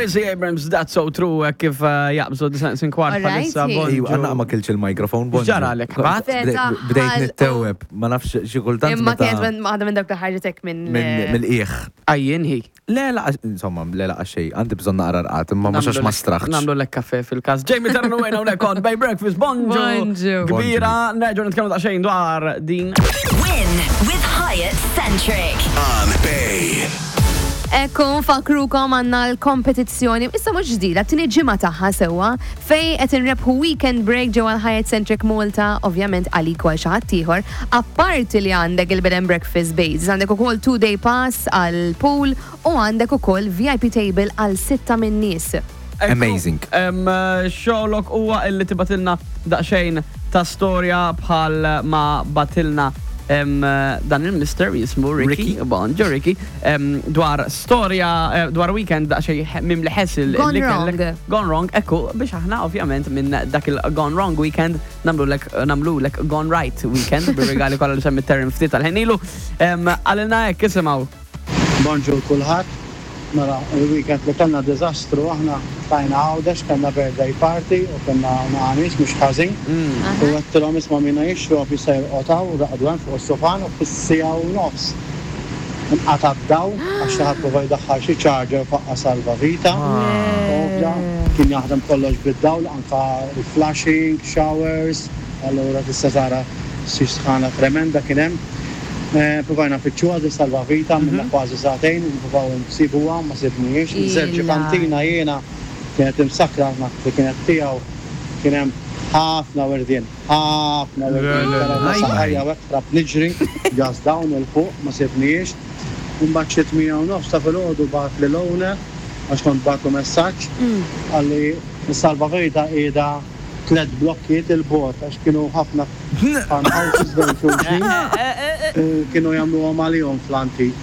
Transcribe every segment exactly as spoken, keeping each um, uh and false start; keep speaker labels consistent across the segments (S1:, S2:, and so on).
S1: Gracie Abrams, "That's So True", eh, kif eh, jaqbżu disgħa kwart
S2: Alright,
S1: bħalissa.
S2: hi.
S1: Bonġu.
S3: Ejwa, għanna ma kilx il-mikrofon, bonġu.
S1: X'ġaralek, ħbat?
S2: Feta,
S3: Bdejt
S2: ħal-
S3: nitteweb, ma nafx xi kultant
S2: Imma
S3: meta-
S2: kienet minn- waħda minn dawk li ħarġetek minn.
S3: minn mill-qiegħ.
S1: Għajjien hi.
S3: Le, la, insomma, le la xej, għandi bżonn naqra rqad, imma mhux għax ma straħx.
S1: Nagħmlu lek kafe fil-kas. Jamie Terran u hawnhekk on Bay Breakfast, bonġu.
S2: Bonġu.
S1: Kbira, nerġgħu nitkellmu daqsxejn dwar din.
S4: Win with Hyatt Centric.
S5: On Bay.
S2: Ekku, nfakkrukom għandna l-kompetizzjoni, issa mhux ġdida, t-tieni ġimgħa tagħha sewwa, fejn qed inrebħu weekend break ġewwa l-Hyatt Centric Malta, ovvjament għalik u għal xi ħadd ieħor. Apparti li għandek il-bed and breakfast base, għandek ukoll two day pass għal pool u għandek ukoll V I P table għal sitta minn nies.
S1: Ekku,
S3: Amazing.
S1: em, Xogħlok huwa illi tibgħatilna daqsxejn ta' storja bħal ma bagħtilna em, dan il-mister jismu Ricky,
S3: Ricky.
S1: Bonġu Ricky, em, dwar storja, eh, dwar weekend daqsxejn mimli ħessil
S2: Gone
S1: li kellek-
S2: wrong.
S1: Gone wrong, ekku, biex aħna ovvjament minn dak il-gone wrong weekend nagħmlulek nagħmlulek gone right weekend bir-regali kollha li semmi Terren ftit tal-ħin ilu. Em, Għalina hekk, isimgħu.
S6: Bonġur kulħadd. Mela, il-weekend li kellna diżastru, aħna tajna Għawdex, kellna birthday party u kellna nies mhux ħażin. U għedtilhom, "Isma', minna jixrob jista' jorqod hawn", u raqdu hemm fuq is-sufan u fis-siegħa u nofs nqata' d-dawl għax xi ħadd prova jdaħħal xi charger, faqqa salvavita. Ovvja, kien jaħdem kollox bid-dawl, anka il-flushing, showers, allura tista' tara xi sħana tremenda kien hemm. Eh, Provajna nfittxuha di salvavita, minna kważi sagħtejn, nipprovaw nsibuha, ma sibniex. Żewġ
S2: Illa.
S6: kantina jiena kienet imsakra li kienet tiegħu, kien hemm ħafna wirdien, ħafna wirdien. Kellha saqajja u hekk ħrabt niġri, gas down 'il fuq, ma sibniex. Mbagħad xi tmienja u nofs ta' filgħodu bagħatli l-owner, għax kont bagħatlu messaġġ, qalli s-salvavita qiegħda tliet blokkiet 'il bogħod, għax kienu ħafna farmhouses bejn xulxin u kienu jagħmluhom għalihom fl-antik.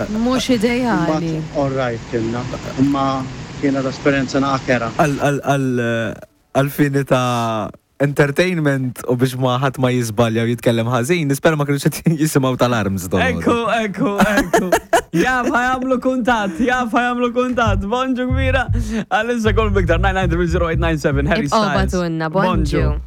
S2: Mhux ideali.
S6: Imbagħad all right kienna, imma kienet esperjenza naqra.
S3: Għal-fini ta' entertainment u biex ma ħadd ma jiżbalja u jitkellem ħażin, nispera ma kienux qed jisimgħu tal-arms don.
S1: Ekku, ekku, ekku. Jaf ħa jagħmlu kuntatt, jaf ħa jagħmlu kuntatt. Bonġu kbira. Għalissa kol biktar nine nine three zero eight nine seven, Harry
S2: Ibqgħu
S1: Styles.
S2: bagħtulna, bonġu.